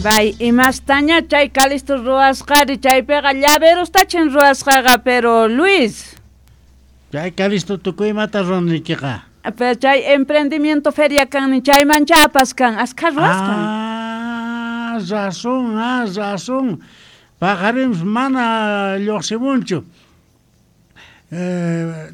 Bay, imastaña chay Calisto ruwasqari, chaypiqa llaverostachin ruwasqaqa, pero Luis. Chay Calisto tukuy imata ruwanaykiqa. Pero chay emprendimiento feria kannin chaymancha apaskan, askha ruwasqan. Ah, razón, ah, razón. Paqarinpis mana lluqsimunchu.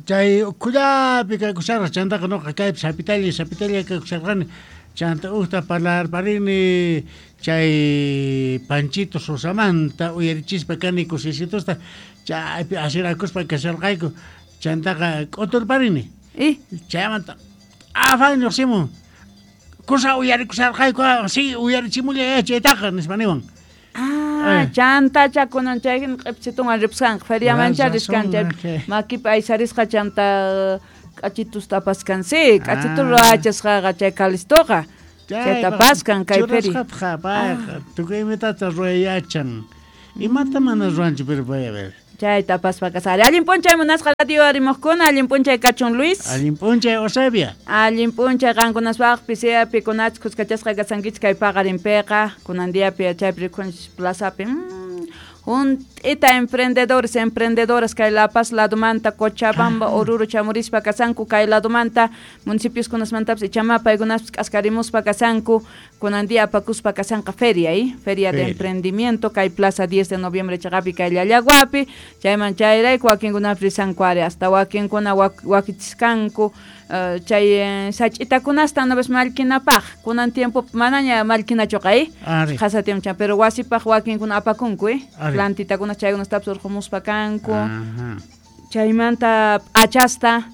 Chay ukhullapi kaykusharqa, chantaqa noqa kaypi sapitalla, sapitalla kaykusharqani. Chanta ujta parlarparini chay Panchito Sosamanta uyarichispa kani kusisitusta, chaypi asirakuspa kasharqayku. Chantaqa k'uturparini. Chaymanta afán lluqsimun. Kusa uyarikusharqayku, sí, uyarichimullay chaytaqa, nispa niwan. Ah, chantacha kunan chay jina q'ipchitunwan ripusqanqa, feriamancha riskan chay makipi aysarisqa chanta k'achitusta apaskan, sí, k'achitu ruwachasqaqa chay Calistoqa, chayta apaskan kay feria. Churasqatqa payqa, tukuy imatata ruway yachan, imata mana ruwanchu, pero pay a ver. Chayta apaspa kasari. Allin p'unchay munasqa radio arimuqkuna, allin p'unchay kachun Luis. Allin p'unchay Eusebia. Allin p'unchay qankunaspaqpis, sea pikunachus khuskachasqa kasankichis kay paqarinpiqa, kunan diapi chaypi rikhunchis plazapi. Junt'ita emprendedores, emprendedoras kay La Paz ladomanta, Cochabamba, Oruro chamurispa kasanku, kay ladomanta municipios kunasmantapis ichama paykunaspis k'askarimuspa kasanku, kunan día apakuspa kasanqa feria, Feria de emprendimiento kay Plaza 10 de Noviembre chaqapi kay Llallaguapi, chayman chayrayku wakinkunapis risanku ari, hasta wakinkuna wakichiskanku, chay sach'itakunasta una vez mallkinapaj, kunan tiempo manaña mallkinachuqa, Qhasa tiempo chan, pero wasipaj wakinkuna apakunku, Plantitakuna chaykunastapis urqumuspa kanku. Chaymanta p'achasta,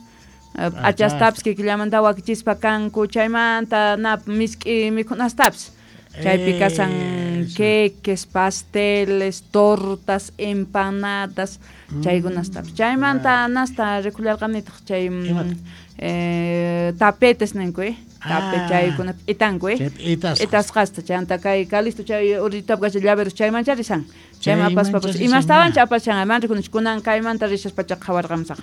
p'achastapis kikillamanta wakichispa kanku, chaymanta na misk'i mikhunastapis. Chaypi kasan queques, pasteles, tortas, empanadas, chaykunastapis. Chaymanta nasta rikullarqanitaq chay, tapetes ninku, Tape chaykuna p'itanku, P'itasqasta chanta kay Calisto chay uritap kasha llaveros chaymancha risan. Chayman apaspapas imastawancha apashan, man rikunich kunan kaymanta rishaspacha qhawarqamusaq.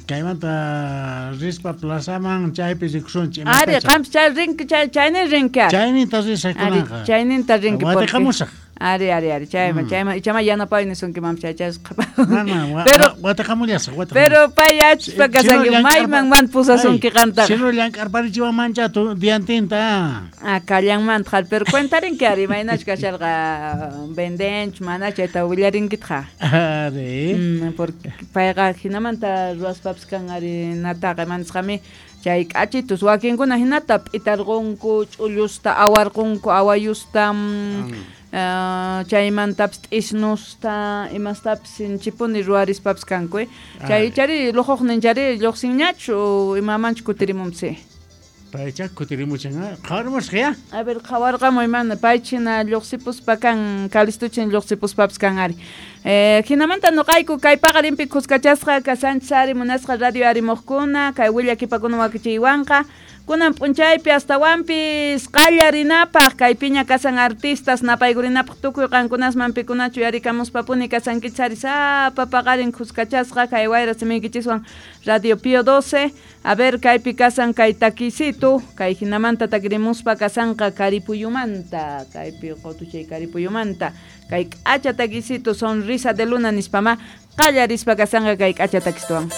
Kaymanta rispa plazaman chaypi rikusunchik. Ari, qampis chay rinki, chay, chaynin rinki ari. Chayninta risaq kunanqa. Chayninta rinki. Watiqamusaq. Ari, ari, ari, chayman, chayman, ichama yanapay nisunki mam chay, chay Mana, Pero watiqamullasaq, watiqamusaq. Pero pay yachaspa kasanki, mayman man pusasunki qantaqa. Sino llank'arparichiwan mancha tu diantinta. Ah, kallanmanta, jal, pero cuentarinki ari, imaynachu kasharqa vendenchu, mana chayta willarinkitqa. Ari. Porque payqa jinamanta ruwaspapis kan ari nataqa, manisqami chay k'achitus wakinkuna jinata p'itarqunku, ch'ullusta awarqunku, awayusta, chaymantapis t'isnusta, imastapis sinchipuni ruwarispapis kanku, Chay chari lujuqnin chari lluqsinñachu, imamanchu kutirimunsi. Paycha kutirimuchan, qhawarmusqa ya. A ver, qhawarqamuy mana, paychina lluqsipuspa kan, Calistuchin lluqsipuspapis kan ari. Jinamanta noqayku kay paqarinpi khuskachasqa kasanchis ari munasqa radio arimuqkuna, kay willakipakuna wakichiywanqa. Kunan p'unchaypi astawanpis qallarinapaq kay piña kasan artistas napaykurinapaq tukuy qankunasman pikunachu yarikamuspapuni kasankichis ari sapa paqarin khuskachasqa kay wayra simiykichiswan Radio Pío 12. A ver, kaypi kasan kay takisito, kay jinamanta takirimuspa kasanqa Karipuyumanta, kaypi qotuchay Karipuyumanta, kay k'acha takisito sonrisa de luna nispama qallarispa kasanqa kay k'acha takistuwan.